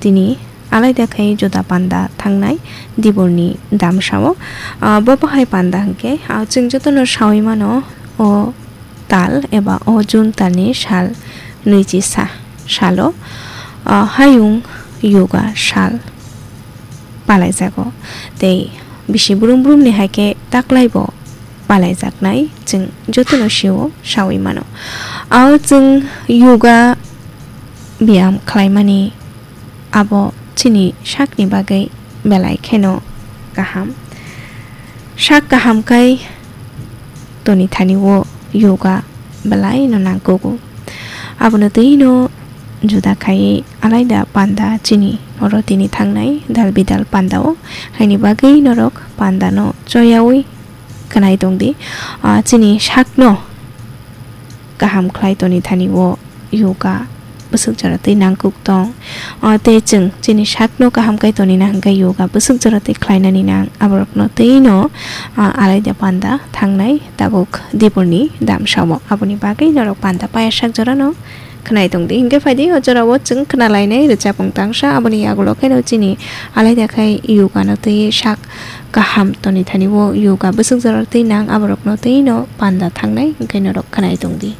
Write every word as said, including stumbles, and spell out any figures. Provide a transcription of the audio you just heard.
tini alaida khai juda panda thangnai diborni damsao. Ah, bo bahai panda hwnkhe, ah, chwng jotono sawi mano, o tal eba o June talni sal nwichi sa-, salo, ah, hayung yoga sal palaijago. Tei bisi brum brumni hai khe taklaibo palaijaknai chwng jotono sio sawi mano. Ao chwng yoga biyam khlaimani abo chini sakni bagwi belai kheno kaham. Sak kaham kai toni thani o yoga belai no nangkugo. Abono twi no juda khai alaida panda chini oro tini thangnai dal bidal panda o, haini bagwi norok panda no choyawi khnai tongdi. Ah, chini sakno kaham khlai toni thani o yoga bwswk jora twi nangkuk tong. Ah, tei chwng chini sakno kaham kai toni na hwnkhe yoga bwswk jora twi khlainani nang aborokno twi no, ah, alaida panda thangnai tabuk diborni damsao. Aboni bagwi norok panda paya sak jorano khnai tongdi. Hinkhe phaidi o jorao chwng khnalainai rwchapung tangsa, aboni yagulo kheno chini alaida khai yoga no twi sak kaham toni thani o yoga bwswk jora twi nang aborokno twi no panda thangnai hinkhe norok khnai tongdi.